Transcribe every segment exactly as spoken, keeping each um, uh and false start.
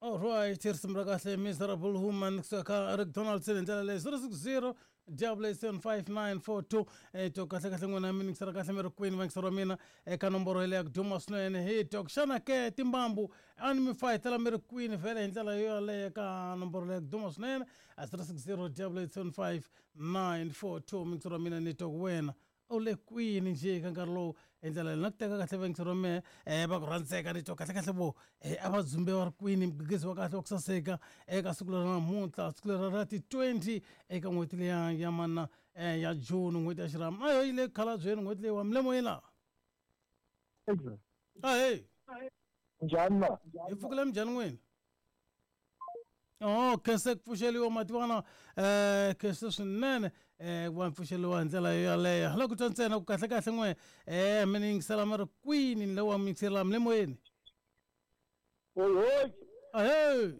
All right, risimu ra kahle Miserable Woman kusuka Eric Donaldson hi ndlela leyi zero six zero double eight seven five nine four two eh to kahle kahle n'wina mi yingisela kahle mi ri kwini vayingiseri wa mina eka nomboro yeleyo ya ku duma swinene hi tok xana ke timbambu a ni mi fayetela mi ri kwini vhele hi ndlela yo yaleyo ka nomboro leyi ya ku duma swinene a zero six zero double eight seven five nine four two muyingiseri wa mina ni tok wena u le kwini njhe ka nkarhi lowu hi ndlela leyi na ku teka kahle vayingiseri wa mehe um va ku rhandzeka ni twa kahle kahle vo um a va dzumbe va ri kwini mugegezi wa kahle wa ku saseka eka siku leri namuntlha siku leri ra ti-twenty eka n'hweti leya ya mana um ya June n'hweti ya xirhami a yo yi le khalabyeni n'hweti leyi wa milemo yi laha ahey njhani na hi pfukile minjhani n'wina Oh, khense ku pfuxeliwa mativana eh khense swinene eh ku va pfuxeliwa hi ndlela yo yaleyo hala ku twa ntsena ku kahle kahle n'we eh mi ni yingisela mi ri kwini ni le wa mi yingisela mi le moyeni oyi ahey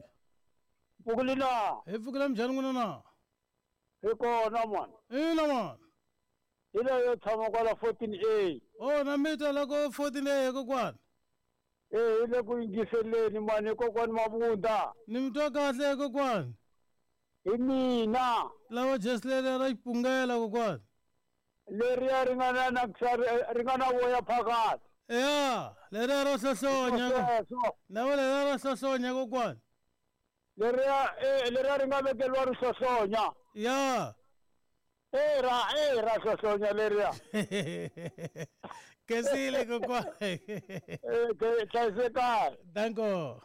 pfukile na hi pfukile minjhani n'wina na hi kona mani ina mani hi leyo tshama kwala fourteen A oh na mi twa loko fourteen A kokwani eh hi le ku yingiseleni mani kokwani Mabunda ni mi twa kahle kokwani hi mina lava jesi leri ra xipungela kokwani leriya ri nga na na ri nga na voya phakathi ya leriya ro hlohlonya na va leriya ro hlohlonya kokwani leriya eh leriya ri nga vekeliwa ri hlohlonya ya eh ra eh ra hlohlonya leriya kesile kokwani eh ke hlayisekani danko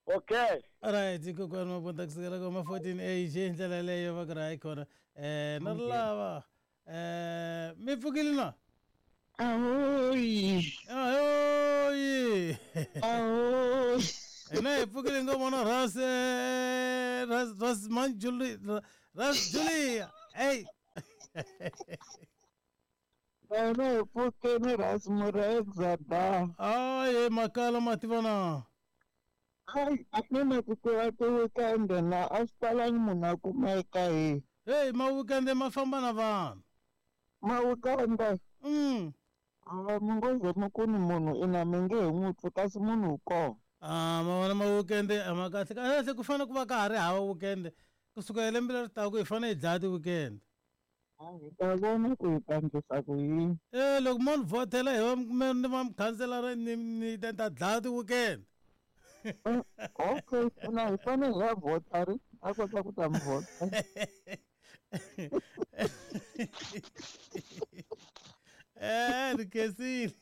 okay alright kokwani Mabunda kusukela koma fourteen A hi ndlela leyo va ku ri hayi khona eh na ri lava eh mi pfukile na Ahoy! ahoyi Ahoy! hina hi pfukile ngo vona ras ras ras manjuli ras Julia hey Wena hi pfukeni ras Mureza da. aye makala mativana Hayi, a ni na ku tiva ti-weekend na a swi talangi munhu a kumeka hi hey ma-weekend ma famba na vanhu ma-weekend mm a mi ngo ze mi ku ni munhu ina mi nge he n'wi twi kasi munhu wu kona. Ah, ma vona ma-weekend a ma kahle kahle ku fanele ku va ka ha ri hava weekend kusuka hi lembe leri taka hi fanele hi dlaya ti-weekend Hi ta vona ku hi ta endlisa ku yini. Eh loko mo ni vhotela hi va ni va mukhanselara ni ni ta ta dlaya ti-weekend Okay, na hi fanele hi ya vhota ri a kota ku ta mi vhota. Eh ni khensile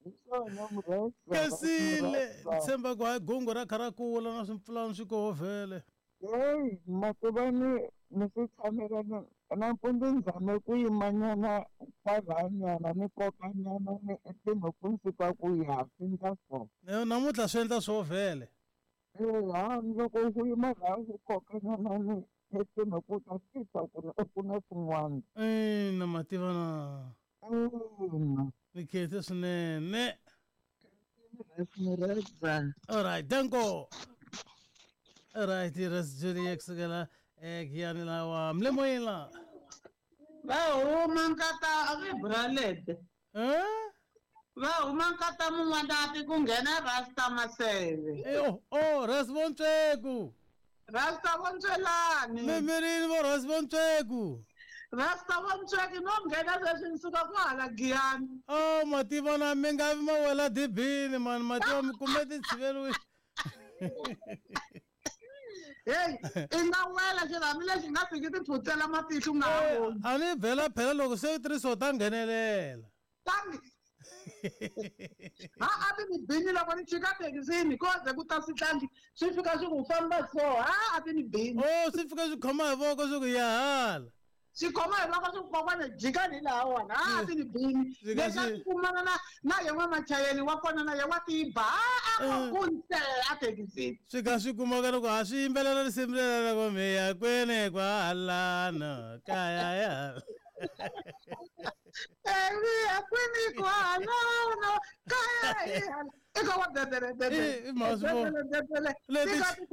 Hi swona Mureza. khensile ni tshemba ku hayi gungu ra kha ra kula na swimpfulana swi koho vhele Heyi mativa ni ni swi tshamela ni nampundzu ni zame ku yimanyana kwalanyana ni kokanyana ni tinhompfu ni swi twa ku ya swi endla so. Namuntlha swi endla swo vhele Eya loko u yima laha u kokanyana ni tinhompfu ta swi twa ku ri ku na swin'wana. Ina mativa na Ina. ni khense swinene Mureza. alright danko alright ras Julia kusukela egiyani lawa mlemoyeni la va huma nkata vibralete eh va huma nkata mun'wanati ku nghena Rasta Maseve Eh, oh oh ras Vontsweku Rasta Vontswelani mimirini vo ras Vontsweku Rasta Vontsweki no nghena sweswi ni suka ku hala Giyani oh mativa na mi nga vi ma wela dibini mani mativa mi kume ti tshiveriwile heyi i nga wela xirhami lexi nga fiki ti phutsela matihlo u nga ha voni a ni bela phela loko se tirhisiwa ta nghenelela tangi ha a ti ni bini loko ni chika thekisini ko ze ku ta switlangi swi fika swi ku famba so ha a ti ni bini oh swi fika swi khoma hi voko swi ku ya hala swi khoma hi voko swi ku kokwana jikani hi laha wona ha a ti ni bini Swi ka leswi a swi- ti kumana na na ye n'wamachayeni wa kona na ye wa tiba ha a ku kunse a thekisini swi ka swi kumaka loko ha swi yimbelela risimu leri loko miya kwene kwahalano kaya ya eviya kwini kwalano kaya hi hala eka wa bebele I- i mhaka bebele Leti-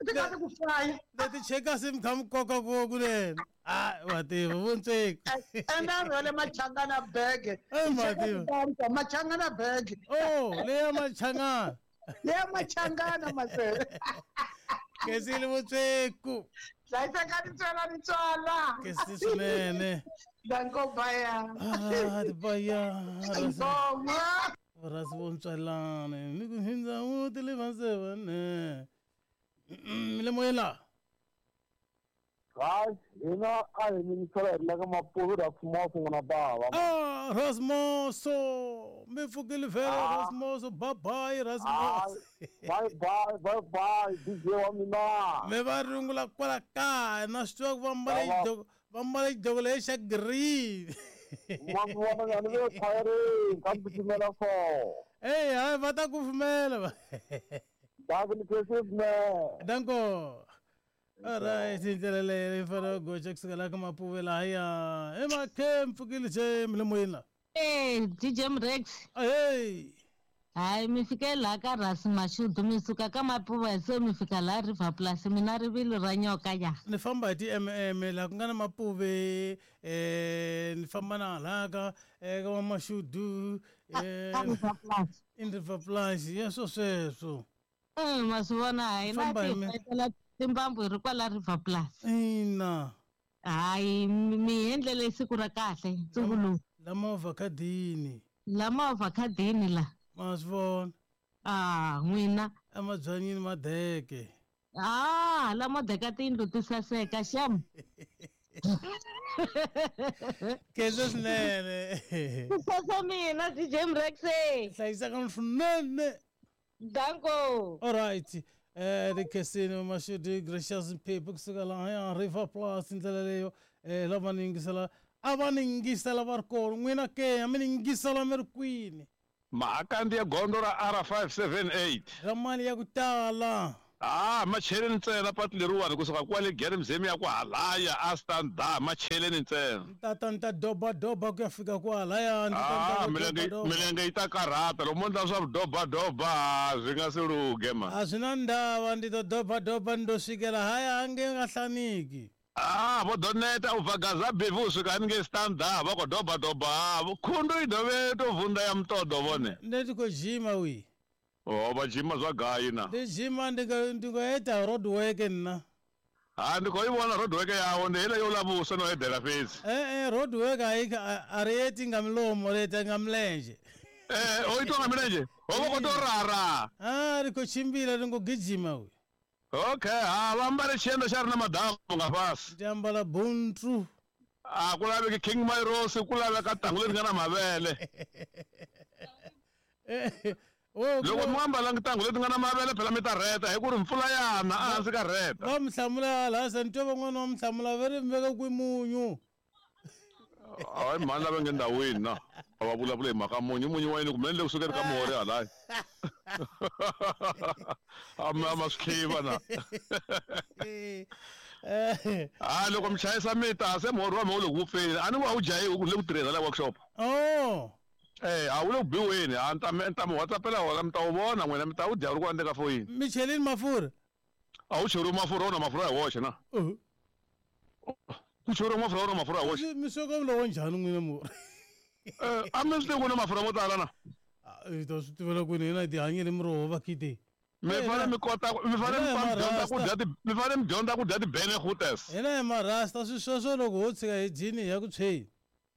tika ti ku faya leti chekasi mi kha mi koka ko kunene a wa tiva Vontsweku ende a rhwele machangana bege Eh, mativa. machangana bege oh leya machangana Leya machangana masele. Khensile Vutsweku. Hlayiseka nitswela nitswala. Khensile swinene. Danko baya. Ah, baya. Ngoma. Rasi vontswalana ni ku hindza wu tilivanzevane. Mi le moyeni la. Hayi, hina a hi yingisela hi ri la ka Mapuve Rasmoso n'wana bava. Ah, Rasmoso. Mi pfukile vhele Rasmoso. Bye bye Rasmoso. Bye bye bye bye D J wa mina. Mi va rungula kwala kaya na swi tiva ku va mbale xidloko va mbale xidloko lexi xa green. Ma mi vona nga ni le khwayereni ka mi pfumela so. Ey, hayi va ta ku pfumela va. Danko ni khensile. Danko. Alright, ndlela leyi yi fanele ku goxa kusukela ka Mapuve lahaya. Emakhe mpfukile nje mi le moyeni la. Eh, D J Mrex. Ahey. Hayi mi fike laha ka Rasi Mashudu mi suka ka Mapuve se mi fika laha River Plus mina rivilo ra nyoka ya. Ni famba hi ti-M M laha ku nga na Mapuve eh ni famba na hala ka eka va Mashudu eh Ka River Plus. In River Plus ya swo sweswo. Eh, ma swi vona hi na Famba hi mi- ti timbambu hi ri kwala River Plus. Ina. Hayi mi endlele siku ra kahle nsuku lowu. La movha khadini. La movha khadini la. Ma swi vona. Ah, n'wina. Emabyanyini madeke. Ah, la madeka tiyindlu ti saseka xem. Khensa swinene. Ku sasa mina D J Mrex. Hlayiseka swinene. Danko. All right. Eh rikhensile Mashudu Gracious Mphephu kusuka lahaya River Plus ndlela leyo eh lava ni yingisela a va ni yingisela va ri kona n'wina ke a mi ni yingisela mi ri kwini. Mahakandi ya gondzo ra R five seven eight. Ra mali ya ku tala. Ah, macheleni ntsena patu leriwani kusuka kwale Gere Mzemi ya ku halaya a stand macheleni ntsena. Tata ni ta doba doba ku ya fika kwalaya ni ta Ah, milenge milenge yi ta karhata loko mo ndla swa doba doba swi nga se lunghe ma. A swi na ndava ndi to doba doba ni to svikela haya a nge nga hlaniki. Ah, vo doneta u bva Gaza Bevi u swika haningei stand va khou doba doba khundu i dovhe to vunda ya mutodo vhone. Nṋe ndi khou dzhima wi. Oh, va dzhima zwa gai na. Ndi dzhima ndi nga ndi nga ita road work nna. Ha ndi khou i vhona road work yawo ndi heiḽa yo ḽa vhuswa no eḓela fhedzi. Eh eh road work a a ri iti nga milomo ri ita nga milenzhe. Eh o itwa nga milenzhe? Ho vha khou tou rara. Ah ri khou tshimbila ri ngo gijima wi. Okay, ha va ambale tshienda xa ri na madamu nga fhasi. Ndi ambala buntu. A ku laveki King Myros ku laveka tangu leri nga na mavele. Loko mi ambalanga tangu leti nga na mavele phela mi ta rheta hi ku ri mpfula yana a hansi ka rheta. Va mi hlamula laha se ni twa van'wana va mi hlamula va ri mi veka kwi munyu. Hayi mhani lava nge ndhawini na a va vulavula hi mhaka munyu munyu wa yini kumbe ni le kusukeni ka muhori halaya. A mi a ma swi tlhiva na. Ha loko mi chayisa mi ta se muhori wa mina wu le ku vupfeni a ni ku a wu jahiwi ku ni le ku tirheni hala workshop. Oh. Eh a wu le ku biweni a ni ta mi ta mi WhatsAppela wona mi ta wu vona n'wina mi ta wu dya wu ri ku handle ka foyini. Mi chelini mafurha? A wu cheriwi mafurha wona mafurha hi woxe na. Ku cheriwa mafurha wona mafurha hi woxe. Mi sweka lowo njhani n'wina murhi? Eh a mi swi tivi ku na mafurha mo tala na. Hi ta swi tivela kwini hina hi ti hanyele miroho va khite. Mi fanele mi kota mi fanele mi dyondza ku dya ti mi fanele mi dyondza ku dya ti-benegutes. Hina hi marasta swi sweswo loko ho tshika hi dyini hi ya ku tshweni.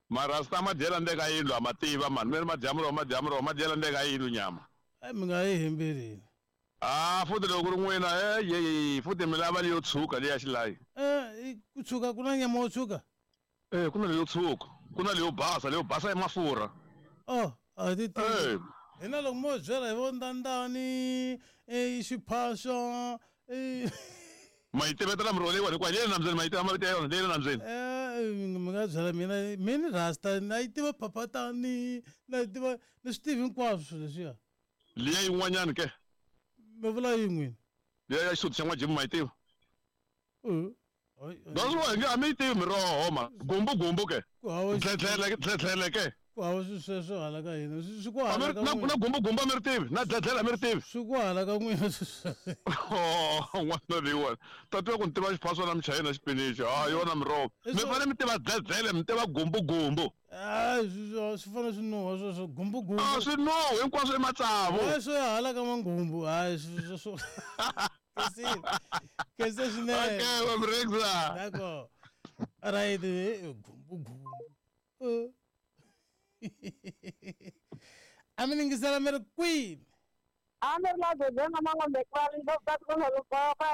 Marasta ma dyela ndzeni ka yindlu a ma tiva mani mi ri ma dya muroho ma dya muroho ma dyela ndzeni ka yindlu nyama. Eh mi nga yi hembeleni. Ah futhi loko ku ri n'wina eh ye futhi mi lava leyo tshuka leya xilayi. Eh ku tshuka ku na nyama yo tshuka? Eh ku na leyo tshuka ku na leyo basa leyo basa i mafurha. Oh a ti tivi. Hina loko mo byela hi vo ndandani eh xiphaswa eh Ma yi tivetela miroho leyiwani hikuva leyi le nambyeni ma yi tiva mavito ya yona leyi le nambyeni. Eh mi nga byela mina mina rasta na yi tiva phaphatani na yi tiva ni swi tivi hinkwaswo swilo leswiya. Liya yin'wanyani ke? Mi vula yini n'wina? Liya ya xisuti xa n'wajimu ma yi tiva? Eh. That's why a mi yi tivi miroho ma gumbu gumbu ke. Ku hava Tlhetlhele tlhetlhele ke. Ku hava swilo sweswo hala ka hina. Swi swi ku A mi hala ri- ka na na n'wina. gumbugumbu a mi ri tivi na dledlela a mi ri tivi Swi ku hala ka n'wina swilo sweswo. Oh, n'wana leyiwani tatiwa ku ni tiva xiphaswa na michayina xipinichi ha yona miroho I mi swo- fanele mi tiva dledlele mi tiva gumbugumbu Hayi swi swi fanele swi nuha sweswo gumbugumbu. a swi nuhi hinkwaswo i matsavu Hayi swo ya hala ka manghumbu. Hayi swi swo. Khensile. Khense swinene. okay wa mrexa D'accord. Right, eh, gumbugumbu. Eh. A mi ningisela mi ri kwini? A ni ri la Zozweni Mangombe Krali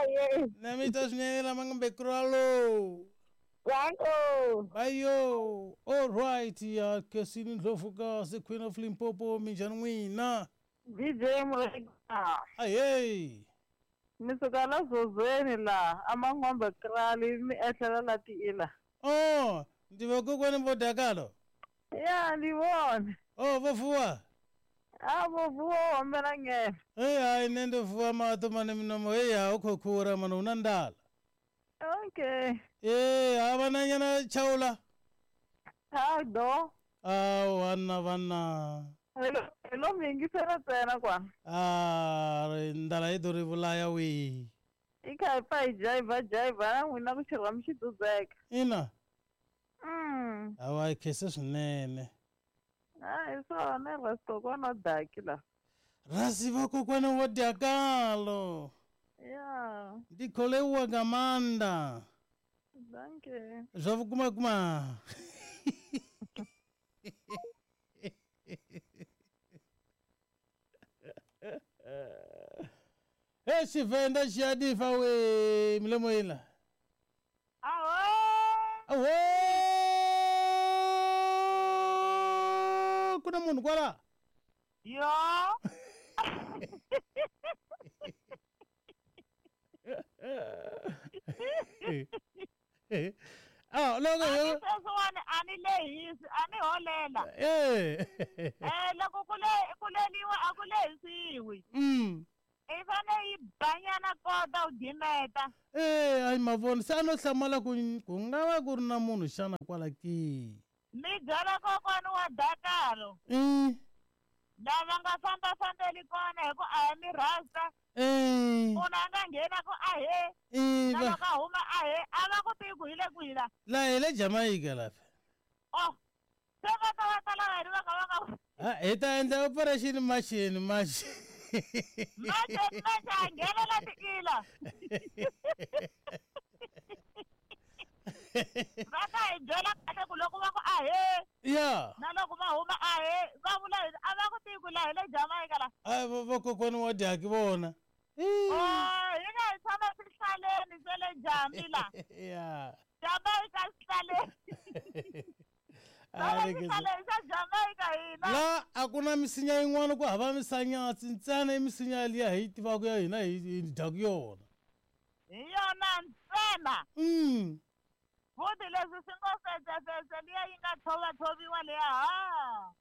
ye. Na mi twa swinene la Mangombe Kralo. Danko. Ayo, all right, ya Khensile Ndlovu kasi Queen of Limpopo minjhani n'wina? D J Mureka. Ahey. Mi suka la Zozweni la a Mangombe Krali mi ehlela la tiila. Oh, ndi vakokwani vo dakalo. Ya ni vona. Oh, vo fuwa. A vo vuwa hombela ngene. Hey, hayi nṋe ndo vuwa maṱo mane minomo hey ha u khou khura mane hu na nḓala. Okay. Ee, ha vhananyana tshaula. Ha do. Awu hanna vhanna. Hello, hello mi yingisela ntsena kwana. Ah, ri nḓala i ḓo ri vhulaya we. I kha hi pfa hi jayivha jayivha na n'wina ku xirhami xi dzudzeka. Ina, Mm. hawa hi khense swinene. Ha hi swona rasi kokwana wa daki la. Rasi vakokwana wa dakalo. Ya, Ndi khou leuwa nga maanḓa. danke. Zwa vhukuma kuma. He Tshivenḓa tshi a ḓifha we milomo iḽa. Aho! Awo! Ku na munhu kwala? Yo! Ah, loko yo Sweswiwani a ni lehisi, a ni holela. eh. Eh loko ku le ku leliwa a ku lehisiwi. Mm. I fane yi banyana kota u gimeta. Eh, ayi mavona se a no hlamala ku ku nga va ku ri na munhu xana kwala ke. Mi byela kokwani wa dakalo. Mm. Lava nga fambafambeli kona hi ku a hi mi rasta. Eh. Munhu a nga nghena ku ahe. Eh, Na va- loko a huma ahe, a va ku tivi ku hi le kwihi la. la hi le Jamaica lapha. Oh, se va ta va ta lava hi va ka va nga Ha, hi ta endla operation machine machine. manje manje a nghenela tiila. Va ta hi byela kahle ku loko va ku ahe Ya. na loko va huma ahe va vula yini a va ku tivi ku la hi le Jamaica la. Ai vakokwani wa dyaki vona. Oh, hina hi tshama swihlaleni swa le Jambi la. Ya. Jamaica swihlaleni. Ah, Tshama ni khensa. swihlaleni swa Jamaica hina. La a ku na misinya yin'wana ku hava misanyatsi ntsena i misinya liya hi yi tivaka ya hina hi hi dyaku yona. Hi yona ntsena. Mm. Futhi leswi swi ngo fetsefetse liya yi nga tshovatshoviwa liya ha.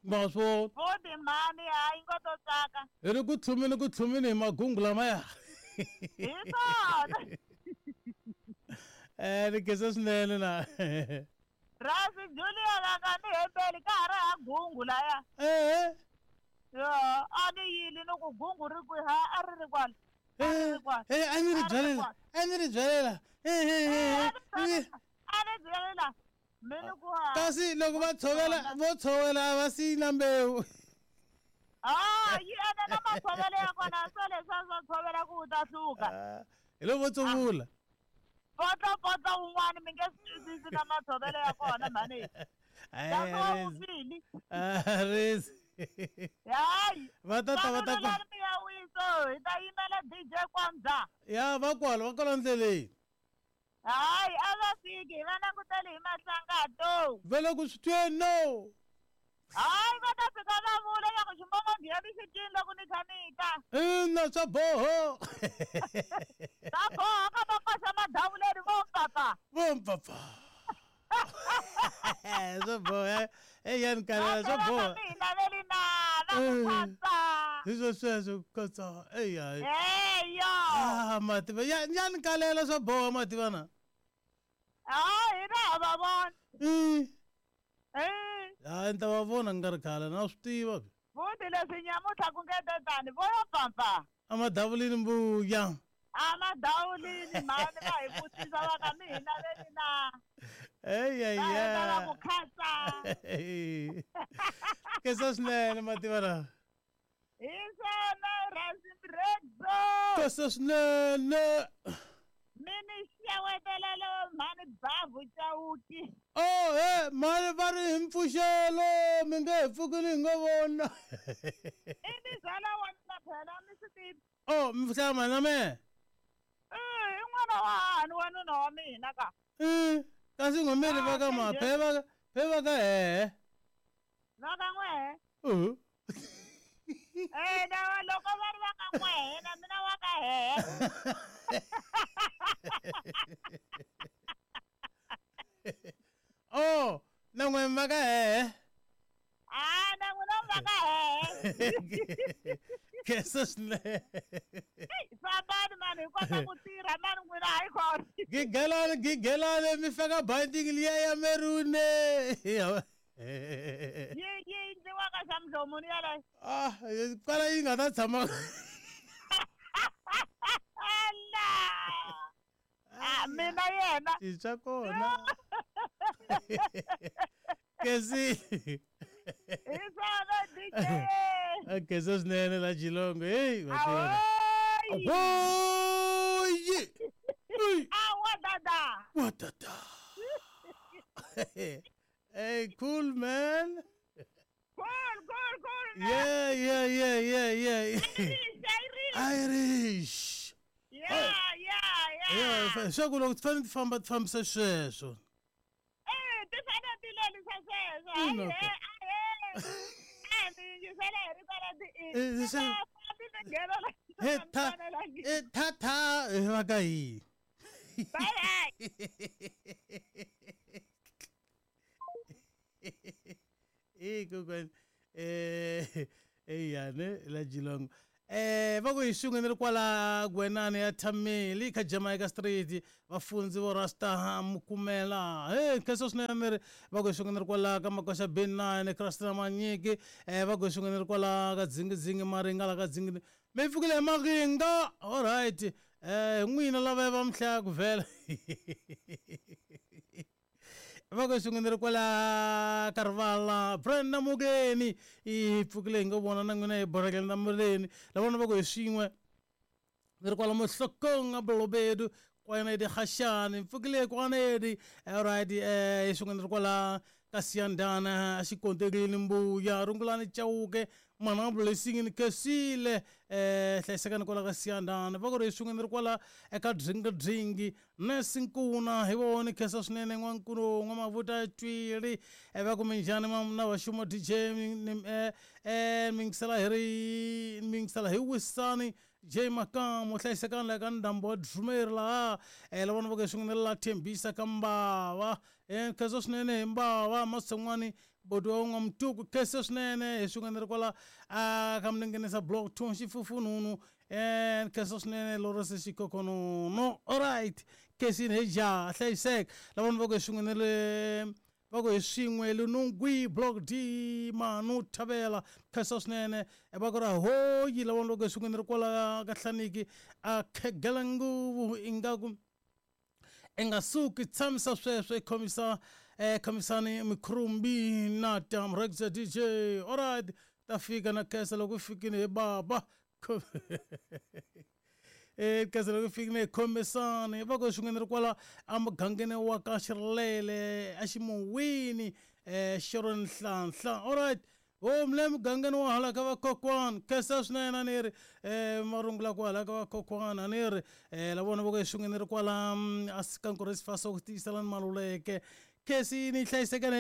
Ma swi vona. Futhi mhani ha yi ngo to tsaka. Hi ri ku tlhumeni ku tlhumeni hi magungu lamaya. Hi swona. Eh, ni khensa swinene na. Rasi Julia va nga ni hembeli ka ha ri ha gungu laya. Eh. Yo, a ni yili ni ku gungu ri kwihi ha a ri ri kwala. A ri Eh, ri kwala. eh, a ni ri A ri ri byalela. kwala. A ni ri byalela. Eh, eh, eh, eh. A ni byalela. Mi ni ku ha. Kasi loko va tshovela vo tshovela a va siyi na mbewu. Ah, yi ene na matshovelo ya kona swo leswiya swo tshovela ku u ta hluka. Ah, Hi loko vo tsuvula. Potlopotlo wun'wani mi nge swi twisisi na matshovelo ya kona mhani. Ai, Kasi wa a ri- vuvili. a ri- Hayi. Va ta ta va ta ku. Vanhu mi ya wiso hi ta yimela D J Kwamza. Ya va kwala va kwala ndleleni. Hayi a va fiki hi va langutele hi mahlangato. Va le ku swi tweni no. Hayi va ta fika va vula ya ku ximbongongheni xi cini loko ni kha ni ta. Ina swa boho. Ta boha ka va koxa madavuleni vo papa. Vo mpapa. Swa boha. Eh ya ni kalela swa Va boha. mi hi laveli nala ku Eh. katsa. Hi swo sweswo ku katsa. Eya. Eyo. Ah mativa ya ya ni kalela swa boha mativa na. Hayi hina ha va vona. Mm. Eh. Hayi ni ta va vona ku nga ri khale na swi tiva. Futhi leswi nyamutlha ku nge tetani vo yo pfapfa. Amadavulini mbuya. Amadawulini mhani va hi vutisa va ka mi hi laveli na. Eyi Va heta va ku khatsa. Kesa swinene mativa lawa. Hi swona Rhasimredzo. Kesa swinene. Mi ni xewetelelo mhani Bavu Chauke. Oh he mhani va ri hi mpfuxelo mi nge he pfuki ni hi ngo vona. I mizala wa mina phela mi swi tivi. Oh mi hlaya mhani na mehe. I i n'wana wa hahani wanuna wa mina ka. I kasi n'we mi ri va ka ma phe va phe va ka hehe. Va ka n'wehe. Uh. Eh na loko va ri va ka n'wehe na mina wa ka hehe. Oh na n'we va ka hehe. Ah na n'wina va ka hehe. Kesa swinene. Fambani mani hi kota ku tirha mani n'wina hayi khona. Gigelani gigelani mi faka binding liya ya maroon. Yi yi endliwaka xa mudlomuni yaleyo. Ah kwala yi nga ta tshama. Ala. Ah mina yena. Swa kona. Kesi. Hi swona D J. Kesa swinene la Geelong. Hey Ahoy. Ahoy. Awa dada. Wa dada. Hey, cool man. Cool, cool, cool man. Yeah, yeah, yeah, yeah, yeah. Irish, Irish. Irish. Yeah, yeah, yeah. Yeah, swa ku loko ti fanele ti famba ti fambisa sweswo. Eh, ti fanele ti lerisa sweswo. Ina Ahee, ka. ahee. A mi yingisela hi rito ra ti Eh, i. Ti se- nga fambi ti nghena la He swi tha nga fanelangi. eh tha tha eh, va ka yini? Bye bye. Eh kokwani eh eyane la Geelong. Eh va ku hi xin'we ni ri kwala Gwenani ya Thameli ka Jamaica Street vafundzi vo Rasta Mukumela. Hey kheso swinene mi ri va ku hi xin'we ni ri kwala ka Makoxa B nine Christina Manyiki eh va ku hi xin'we ni ri kwala ka Dzingidzingi Maringa la ka Dzingidzingi. Mi pfukile hi Maringa. All right. Eh n'wina lava va mihlaya ku vhela. Va ku xin'we ni ri kwala ka rivala Brenda Mugeni i pfukile hi ngo vona na n'wina hi borekele na muleni lavona va ku hi swin'we ni ri kwala Mohlokong a Bolobedu kwanedi Khashani pfukile kwanedi alright eh hi swin'we ni ri kwala ka Siyandana a xikonterini mbuya rungulani Chauke mana blessing ni kesile eh hlayisekani kwala ka Siyandana va ku ri hi swin'we ni ri kwala eka Dringi Dringi Nurse Nkuna hi vona khesa swinene n'wankulu n'wamavuta Twili eh va ku minjhani na vaxuma D J eh eh mi yingisela hi ri mi yingisela hi Wisani J Makamu hlayisekani la ka ndhambo wa Drumeri laha eh lavona va ku hi swin'we ni la Thembisa ka Mbava eh khesa swinene hi Mbava Mason'wani boti wa n'wamutuku khesa swinene hi swin'we ni ri kwala a ka Mninginisa block two Xifufununu eh khesa swinene Lawrence Xikokonono alright khesini hi ja hlayiseka lavona va ku hi swin'we ni le va ku hi swin'we Lunungwi block D Manu Thavela khesa swinene va ku ri hoyi lavona va ku hi swin'we ni ri kwala ka Hlaniki a khegela nguvu ingaku i nga suki tshamisa sweswo i khomisa eh khomisani mikhurumbi na tam Rexa D J alright ta fika na khesa loko fikile hi baba eh khesa loko fikile hi khomisani va ku swin'we ni ri kwala emugangeni wa ka Xirilele a Ximuwini eh Sharon Nhlanhla alright o mle mugangeni wa hala ka vakokwana khesa swinene a ni ri eh marungula ku hala ka vakokwana a ni ri eh lavona va ku hi swin'we ni ri kwala a sikankoresi faso ku tiyiselani Maluleke khesi ni hlayisekani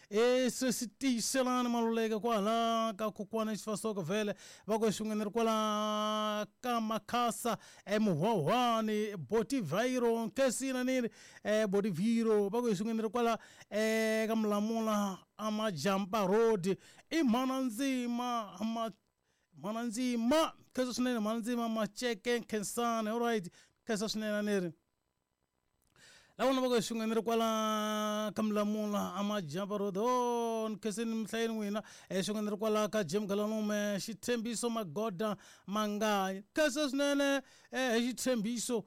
e sweswi tiyiselani Maluleke kwala ka kokwana Xifasoko vhele va ku hi swin'we ni ri kwala ka Makhasa emuhwahwani Botiviro khesi na ni ri eh Botiviro va ku hi swin'we ni ri kwala eh ka Mulamula Amajampa Road i mhana ndzima ma mhana ndzima khesa swinene mhana ndzima Macheke Khensani alright khesa swinene a ni ri Lavona va ku swin'we ni ri kwala ka Mulamula a Majampa Road o ni khenseni mihlayeni n'wina swin'we ni ri kwala ka Jim Galanume Xitshembiso Magoda Manganyi khensa swinene hi Xitshembiso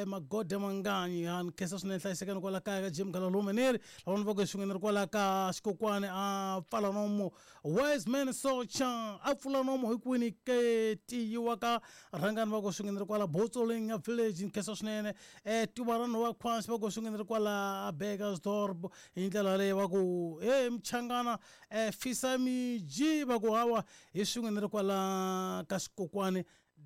Magoda Manganyi ha ni khensa swinene hlayisekani kwala kaya ka Jim Galalume ni ri lavona va ku swin'we ni ri kwala ka Xikokwani a pfala nomo Wise Man Socha a pfula nomo hi kwini ke tiyiwa ka rhangani va ku swin'we ni ri kwala Botsoleng ya village ni khensa swinene Tivarano wa Khwasi va ku swin'we ni ri kwala Burgersdorp hi ndlela leyi va ku he Mchangana Fisa Miji va ku hawa hi swin'we ni ri kwala ka Xikokwani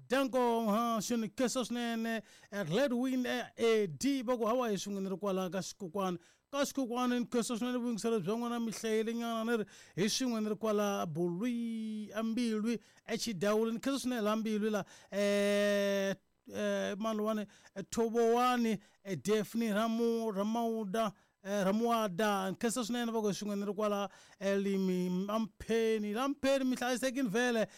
Danko ha xini khensa swinene Redwin A D va ku hawa hi swin'we ni ri kwala ka Xikokwani ka Xikokwani ni khensa swinene vuyingiselo bya n'wina mi hlayelenyana ni ri hi swin'we ni ri kwala Bulwi Ambilwi eXidawuli ni khensa swinene la Mbilwi la eh Malwani Thobowani Daphne Ramu Ramauda Ramuada khensa swinene va ku swin'we ni ri kwala Limi Ampheni Lampheni mi hlayisekini vhele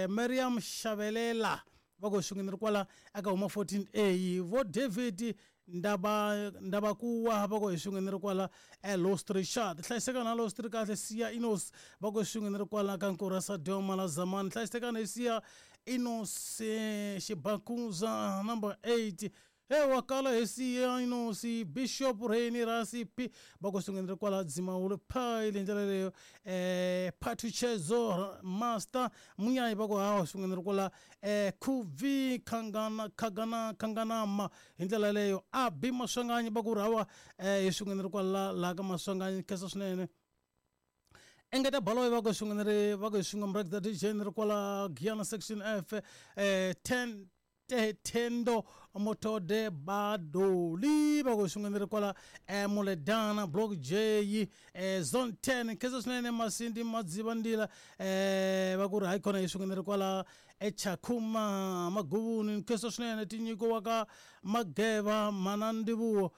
Mariam Xavelela va ku swin'we ni ri kwala eka huma fourteen A vo David Ndaba Ndabakuwa va ku hi swin'we ni ri kwala Lost Richard hlayisekani na Lost kahle Siya Inos va ku swin'we ni ri kwala ka Nkurasa Doma la Zamani hlayisekani hi Siya Inos Xibakuza number eight he wakala hi Siya Inos Bishop Reni Rasipi va ku swin'we ni ri kwala Dzimawulu Phayile hi ndlela leyo Phathuchezo Master Munyayi va ku hawa swin'we ni ri kwala Khuvi Khangana Khagana Khanganama hi ndlela leyo Abi Maswanganyi va ku ri hawa hi swin'we ni ri kwala laha ka Maswanganyi khensa swinene Engeta Baloyi va ku swin'we ni ri va ku hi swin'we Mrek the D J ni ri kwala Giyana section F ten Tendo Motode Badoli va ku swin'we ni ri kwala Muledana Block J Zone ten khensa swinene Masindi Madziva Ndila va ku ri hayi khona hi swin'we ni ri kwala eChakuma Maguvuni khensa swinene tinyiko wa ka Mageva Mana Ndivuwo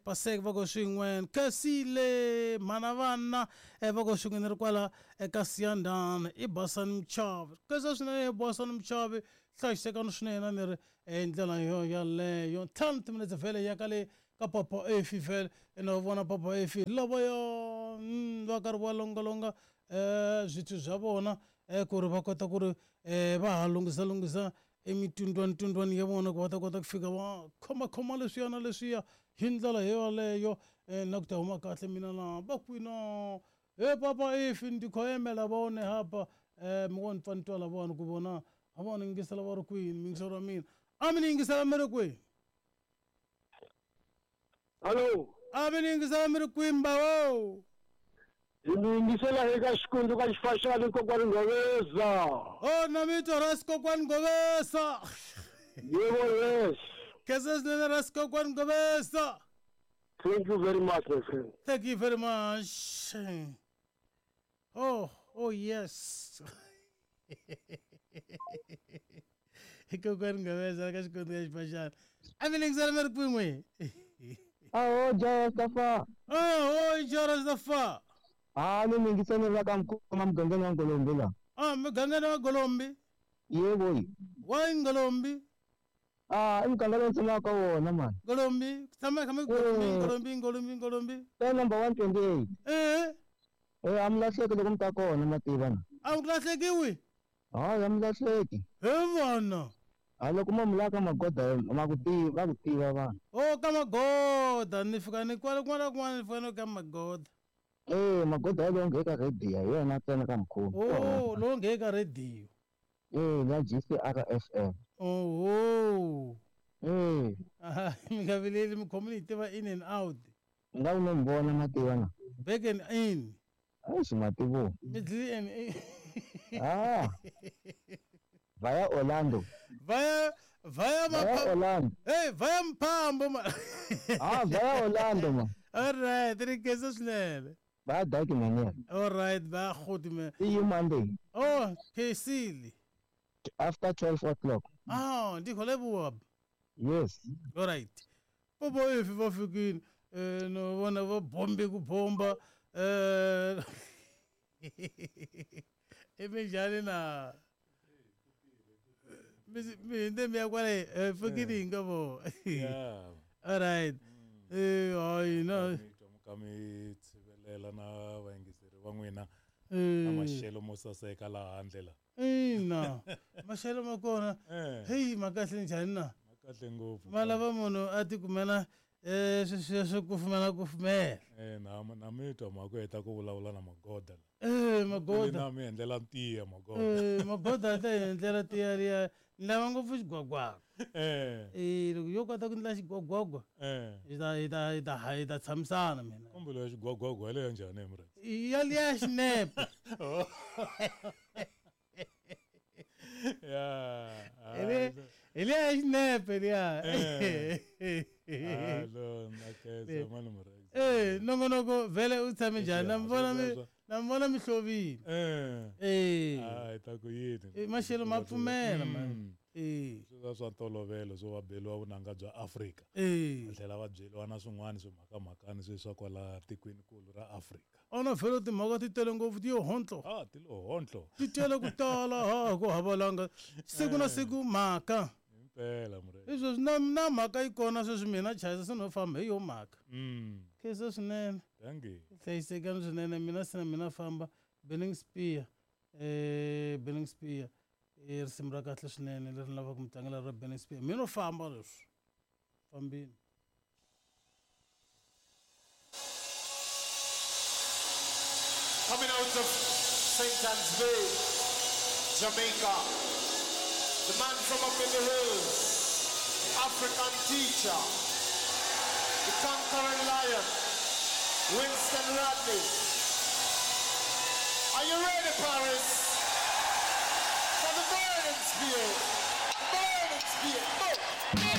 Pasek va ku swin'we Khensile Mana Vana va ku swin'we ni ri kwala eka Siyandana i Basani Mchavi khensa swinene Basani Mchavi hlayisekani swinene ni ri hi ndlela yo yaleyo ntlhanu timinetse vhele ya ka le ka Papa Efi vhele ene va vona Papa Efi lavaya va karhi va longalonga swithu swa vona ku ri va kota ku ri va ha lunghisa lunghisa emitundwanitundwani ya vona ku va ta kota ku fika va khomakhoma leswiya na leswiya hi ndlela yoyaleyo na ku ta huma kahle mina na va kwina he Papa Efi ndi kho yimela vone hapa mi ngo ni pfa ni twa lavona ku vona a vona yingisela va ri kwini miyingiselo wa mina a mi ni yingisela mi ri kwini Hallo a mi ni yingisela mi ri kwini bawo hi mi yingisela eka Xikundzu ka Xifaxani Kokwani Ngoveza o na mi twa ra Xikokwani Ngoveza yebo yes khensa swinene ra Xikokwani Ngoveza thank you very much my friend thank you very much oh oh yes Kokwani Ngoveza ka Xikundzu ka Xifaxani a mi ni yingisela mi ri kwini n'we aho Jarastafa oh Jarastafa ah ni mi yingisela la ka Mkhoma mugangeni wa Ngolombi la ah mugangeni wa Ngolombi yebo wa Ngolombi ah i muganga lowu tshamaka ka wona mani Ngolombi ku tshama kha Ngolombi Ngolombi Ngolombi Ngolombi ka number one twenty-eight eh eh a mi lahleki loko mi ta kona ma tiva na a mi lahlekiwi hayi a mi lahleki he vana a loko mo mi lava ka Magoda ma ku tiva va ku tiva vanhu o ka Magoda ni fika ni kwala kun'wana na kun'wana ni fika ni ka Magoda eh Magoda ya lowu nge ka radio hi yona ntsena ka Mkhulu oh lowu nge ka radio eh ya G C R F M oho eh mi nga vileli mi khomi ni yi tiva in and out nga wu no mi vona ma tiva na back and in eish ma tivo middle and in ah vaya Orlando vaya vaya vaya Orlando hey vaya Mphambo ma ah vaya Orlando ma all right ri khensa swinene vaya daki manyana all right va khoti me see you Monday oh khensile after twelve o'clock ah ndi kho leboha yes all right Papa Efi va fikile eh no vona va bombe ku bomba eh eminjhani na mi hinde mi ya kwale fikile nga vo Yeah. all right Eh, hayi na Mi twa mi ka mi tshivelela na vayingiseri va n'wina na eh, maxelo mo saseka laha handle la ina maxelo ma kona Eh. heyi ma kahle njhani na ma kahle ngopfu ma lava munhu a tikumela um sweswiya swo kufumela kufumela Eh, na na mi twa mhaka heta ku vulavula na magoda la Eh, magoda na mi endlela ntiya magoda Eh, magoda a ta hi endlela tiya liya ni lava ngopfu xigwagwagwa eh Eh, loko yo kota ku ndla xigwagwagwa eh hi ta hi ta hi ta hi ta tshamisana mina kombelo ya xigwagwagwa yaleyo njhani murhangeri ya liya xinepe ya Hi le- hi liya ya xinepe liya Eh. alo na khensa mani murhangeri Eh, nongonoko vhele u tshame njhani na mi vona mi Sweswo. na mi vona mi hlovile eh Eh, hayi ta ku yini Eh, maxelo ma pfumela man Mm. Eh, swi swa ntolovelo swo va beliwa vunanga bya Afrika eh. va tlhela va byeliwa na swin'wana swimhakamhakani swe swa kwala tikwenikulu ra Afrika ona vhele timhaka ti tele ngopfu ti yo hontlo ah ti lo hontlo ti tele ku tala ha ku havalanga siku na siku mhaka himpela murhangeri hi sweswi na na mhaka yi kona sweswi mina chayisa se no famba hi yo mhaka mm khensa swinene dankie hlayisekani swinene mina se na mina famba Burning Spear eh Burning Spear i risimu ra kahle swinene leri ni lavaka mi tlangela ra Burning Spear mina no famba leswi fambini Coming out of Saint Anne's Bay, Jamaica, the man from up in the hills, African teacher, the conquering lion, Winston Rodney. Are you ready, Paris? For the burning spear, the burning spear. Go!